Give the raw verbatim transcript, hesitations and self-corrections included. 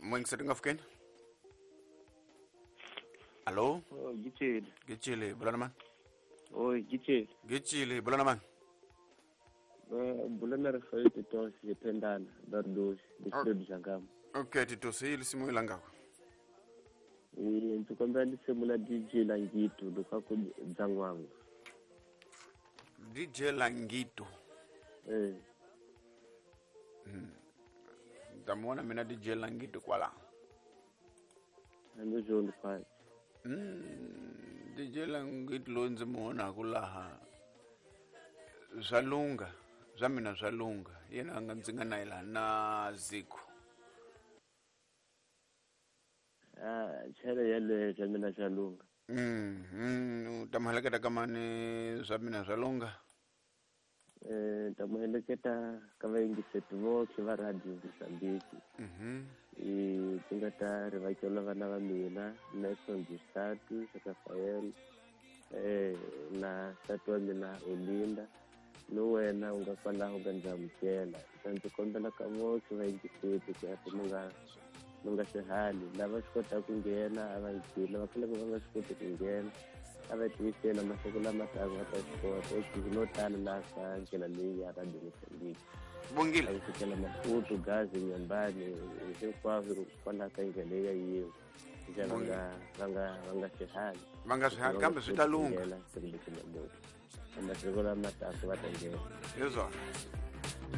Moyingiseri nga fikeni. Allo? Oh, Gitshile. Gitshile, bula na mani? Oh, Gitshile. Gitshile, bula na mani? Bula na Rafael Titos, Dependana, Bardos, District Zangam. Okay, Titos, hi lisimu ilangako. Ndzi kombela lisimu la D J Langito lokaku Dzangwangu. D J Langito. Eh. Mm. Ndamona mina D J Langito kwala. Ando John kwala. Mm, D J Langito lo ndzi muona kulaha. Zwa lunga, zwa mina zwa lunga. Yena nga ndzi nga na yela na Ziko. Ah, chele yele zwa mina zwa lunga. Mm, mm, ta muheleketa ka mani zwa mina zwa lunga? Eh, ta muheleketa ka vayingiseti votlhe va Radio Mozambique. Mhm. E ti nga ta ri vakela vana va mina, Nelson Gisatu, Rafael, eh, na nsati wa mina Olinda. No wena u nga kwalaho ka ndzi amukela. Ta ndzi kombela ka votlhe vayingiseti ku ya mi nga mi nga swihali. Lava swi kotaka ku nghena a va ngheni, lava kalaka va nga swi koti ku nghena a va tiyisela masiku lama taka va ta swi kota. Eku no tala laha ka ndlela leyi ya Radio Mozambique. Bongile. A yi fikela Maputo, Gaza, Nyambani, hinkwaswo kwalaho ka ndlela leyi ya yin'we. Ndlela va nga, va nga, va nga swihali. Va nga swihali, kambe swi ta lungha. Masiku lama taka va ta nghena. Hi swona.